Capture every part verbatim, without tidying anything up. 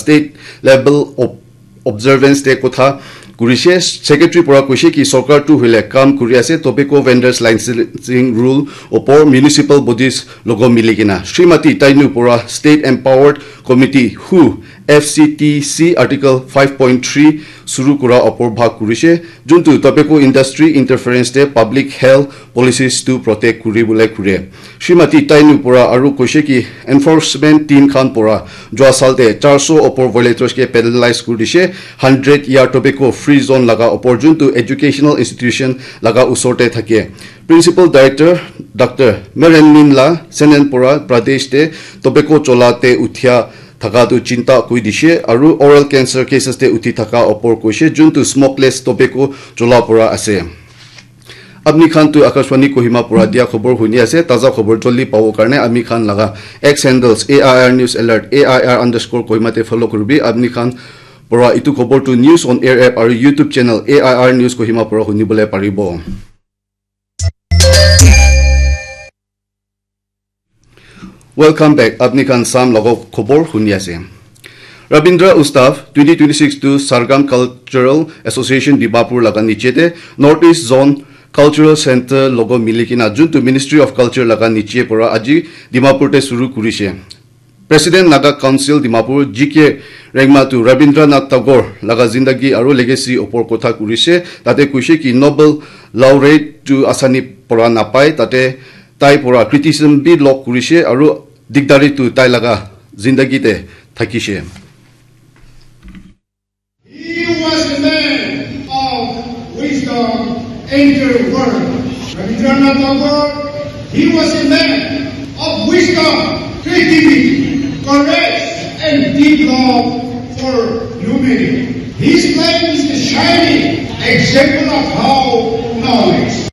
state level of observance te kotha kurishe. Secretary pora koishe ki sorkar tu hoile kam kuri ase tobacco vendors licensing rule opor municipal bodies logo mili kena. Srimati Tainu pora State Empowered Committee who F C T C Article five point three suru kura opor bhag kurishe, juntu tobacco industry interference te public health policies tu protect kuri bole kure. Srimati Tainu pora aru koishe ki enforcement team khan pora jua sal te charso opor violators ke penalize kuri dishe, hundred year tobacco free zone laga opor juntu educational institution laga usor te thake. Principal Director Doctor Merenmin la Senen pora Pradesh te tobacco chola te uthia thaka tu chinta koi dishe aru oral cancer cases te uthi thaka opor koishe juntu smokeless tobacco chola pora ase. Apni khan tu Akashvani Kohima pora dia khobor huni ase, taza khobor joldi pabo karne ami khan laga X handles A I R News Alert, A I R underscore Kohima te follow kuribi. Apni khan pora itu khobor tu News on Air app aru YouTube channel A I R News Kohima pora huni bole paribo. Welcome back. Apni khan Sam logo khobor huni ase. Rabindra Utsav twenty twenty-six tu Sargam Cultural Association Dimapur laga niche te North East Zone Cultural Center logo mili kena juntu Ministry of Culture laga niche pora aji Dimapur te suru kurishe. President Naga Council Dimapur G K Rengma tu Rabindranath Tagore laga zindagi aru legacy opor kotha kurishe. Tate koishe ki Nobel laureate tu asani pora napai, tate tai pora criticism bi log kurishe aru dikdari tu tai laga zindagi te thakishe. He was a man of wisdom and work. Rabindranath Tagore, he was a man of wisdom, creativity, courage, and deep love for humanity. His life is a shining example of how knowledge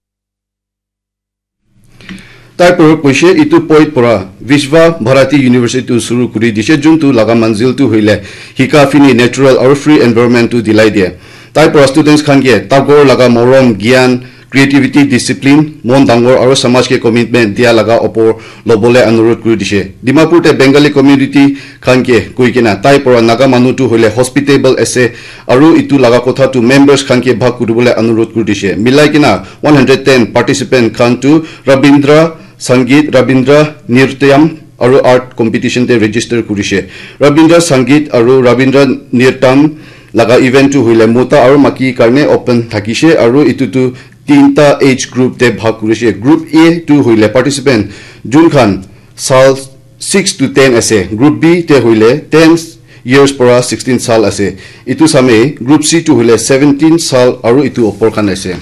Tai pora koishe itu poet pora Vishwa Bharati University tu suru kuri dishe, juntu laga manzil tu hoile hika fini natural aru free environment tu dilai diye. Tai pora students khan ke Tagore laga morom, gyan, creativity, discipline, mon dangor aru samaj ke commitment dia laga opor lobole anurod kuri dishe. Dimapur te Bengali community khan ke koi kena tai pora Naga manu tu hoile hospitable ase aru itu laga kotha tu members khan ke bhag kuribole anurod kuri dishe. Milai kena one hundred ten participant khan tu Rabindra Sangeet, Rabindra Nrityam aru art competition te register kurishe. Rabindra Sangeet aru Rabindra Nrityam laga event tu hoile mota aru maki karne open thakishe aru itu tu tinta age group te bhag kurishe. Group A tu hoile participant jun khan sal six to ten ase. Group B te hoile ten years pora sixteen sal ase. Itu same Group C tu hoile seventeen sal aru itu opor khan ase.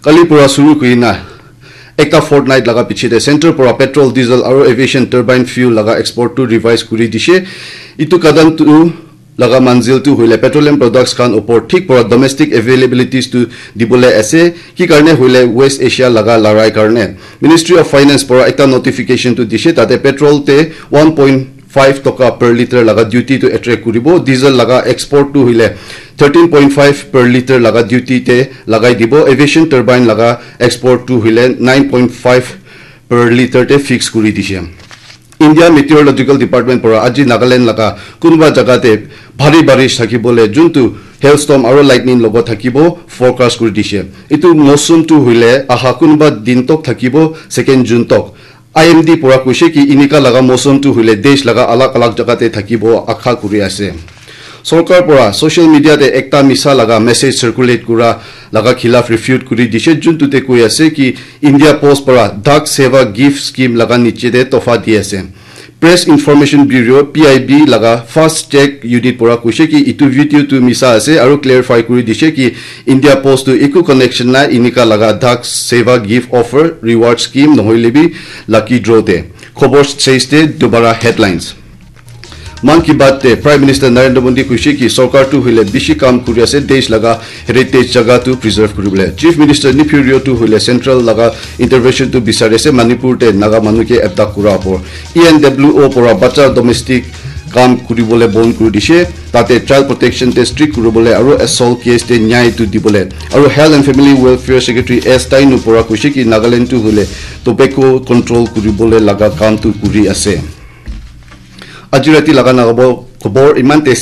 Kali pora suru kurina ekta fortnight laga piche te center pora petrol, diesel aru aviation turbine fuel laga export tu revise kuri dishe. Itu kadam tu laga manzil tu hoile petroleum products khan opor thik pora domestic availabilities tu dibole ase. Ki karne hoile West Asia laga larai karne Ministry of Finance pora ekta notification tu dishe, tate petrol te one point five toka per liter laga duty tu attract kuribo, diesel laga export tu hoile thirteen point five per liter laga duty te lagai dibo, aviation turbine laga export tu hoile nine point five per liter te fix kuri dishe. India Meteorological Department pora aji Nagaland laga kunuba jaga te bhari barish thakibole juntu hailstorm aru lightning logo thakibo forecast kuri dishe. Itu mosum tu hoile aha kunuba din tok thakibo second June tok. I M D pora koishe ki inika laga mosum tu hoile desh laga alag alag jaga te thakibo akha kuri ase. Sorkar pora social media te ekta misa laga message circulate kura laga khilaf refute kuri dishe, juntu te koi ase ki India Post pora Dak Seva Gift Scheme laga niche te tofa di ase. Press Information Bureau, P I B laga Fast Check Unit pora koishe ki itu video tu misa ase aru clarify kuri dishe ki India Post tu eku connection nai inika laga Dak Seva Gift Offer Reward Scheme nohoile bi lucky draw te. Khobor stage te dubara headlines. Mann Ki Baat te Prime Minister Narendra Modi koishe ki sorkar tu hoile bishi kam kuri ase desh laga heritage jaga tu preserve kuribole. Chief Minister Neiphiu Rio tu hoile central laga intervention tu bisari ase Manipur te Naga manu ke abduct kura opor. E N W O pora bacha domestic kam kuribole bon kuri dishe. Tate child protection te strict kuribole aru assault case te nyai tu dibole. Aru Health and Family Welfare Secretary S Tainu pora koishe ki Nagaland tu hoile tobacco control kuribole laga kam tu kuri ase. Aji rati laga Naga bo khobor iman te